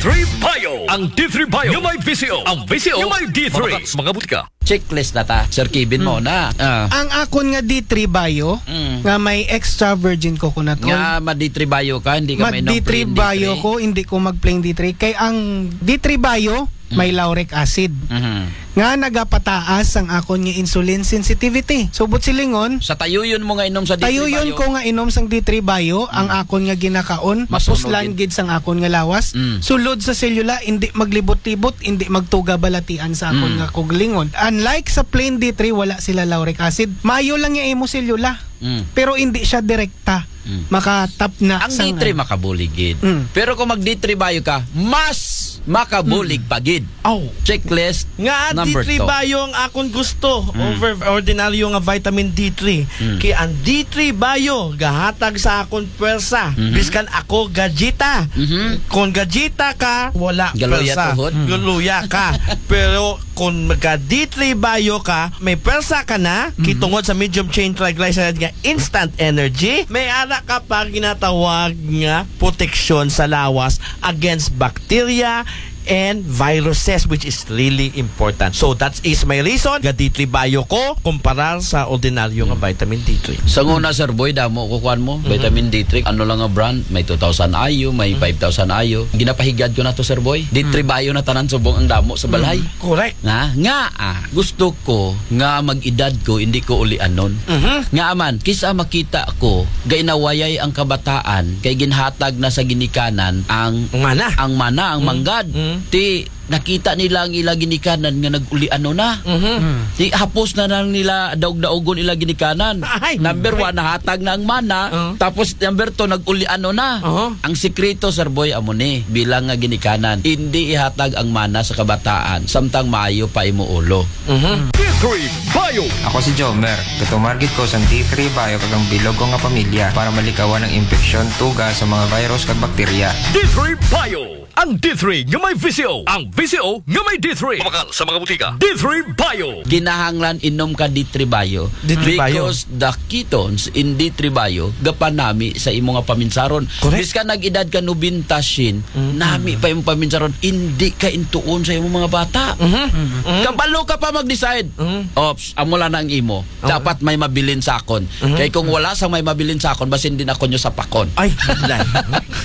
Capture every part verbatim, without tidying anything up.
three Bio. Ang D three Bio nga may V C O. Ang V C O nga may D three. Mga butika. Checklist na ta, Sir Kevin, mo na. Ah. Ang akon nga D three Bio, Mm. nga may extra virgin coconut oil. Nga ma-D three Bio ka, hindi ka mainom D three plain D three. Bio ko, hindi ko mag-plain D three. Kay ang D three Bio, Mm. may lauric acid. Mhm. Nga nagapataas ang akon nga insulin sensitivity. So, buot silingon, Sa tayuyon mo nga inom sa D three Bio. Tayuyon ko nga inom sang D three Bio, ang Mm. akon nga ginakaon, Masunog mapuslan gid. Gid sang akon nga lawas. Mm. Sulod sa selula, hindi maglibot-libot, hindi magtuga balatian sa akon Mm. nga kaugalingon. Unlike sa plain D three, wala sila lauric acid. Mayo lang nga imo selula. Mm. Pero hindi siya direkta. Mm. Makatap na Ang sa D three ano. Makabulig gid. Mm. Pero kung mag D three Bio ka, mas makabulig Mm. pa gid. Aw. Checklist Nga number D three two. Bio ang akon gusto Mm. over ordinaryo nga vitamin D three. Mm. Kay ang D three Bio gahatag sa akon pwersa. Mhm. Biskan ako gajita. Mhm. Kung gajita ka, wala Galuya pwersa. Tuhod. Mm. Galuya ka. Pero kung magka D three Bio ka, may pwersa ka na, Mhm. kitungod sa medium chain triglyceride nga instant energy, may ara ka pa ginatawag nga proteksyon sa lawas against bacteria and viruses, which is really important. So that is my reason. Ga D three Bio ko, kumparar sa ordinaryo nga Hmm. vitamin D three. Sa una, Sir Boy, damo ko kuan mo, Mhm. vitamin D three. Ano lang nga brand? May two thousand I U, may Mhm. five thousand I U. Ginapahigad ko na to, Sir Boy. D three Mhm. Bio na tanan subong ang damo sa balay. Mhm. Correct. Nga, nga, ah, gusto ko nga mag-edad ko, hindi ko ulianon. Mhm. Nga man, kisa makita ko, gainawayay ang kabataan, kay ginhatag na sa ginikanan ang Ang mana. ang mana, ang Mhm. manggad. Mhm. Ti, nakita nila ang ila ginikanan nga nag-ulianon na. Mhm. Mhm. Ti, hapos na lang nila daog-daogon ila ginikanan. Ay. Number one, nahatag na ang mana. Uh-huh. Tapos, number two, nag-ulianon na. Uh-huh. Ang sikreto, Sir Boy, amo ni, bilang nga ginikanan, hindi ihatag ang mana sa kabataan, samtang maayo pa imo ulo. Mhm. D three Bio. Ako si Jomer. Gatumarget ko sang D three Bio kag ang bilog ko nga pamilya para malikawan ang impeksyon, tuga sa mga virus kag bakterya. D three Bio. Ang D three nga may V C O. Ang V C O nga may D three. Mabakal sa mga butika. D three Bio. Kinahanglan inom ka D three Bio. D three Bio. Because the ketones in D three Bio gapanami sa imo nga paminsaron. Correct. Biskan nag-edad ka nobenta shin, Mm. nami pa imong paminsaron, hindi ka intuon sa imong mga bata. Mhm. Mhm. Kabalo ka pa mag-decide. Mhm. Ops, amo lang na ang imo. Okay. Dapat may mabilin sa akon. Mhm. Kay kung wala sa may mabilin sa akon, basin din ako nyo sapakon. Ay, wala.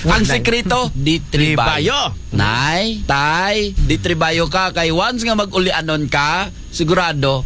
Ang Wala. Sikreto, D three Bio. Bio. Nay, tay, D three Bio ka. Kay once nga mag-ulianon ka, sigurado,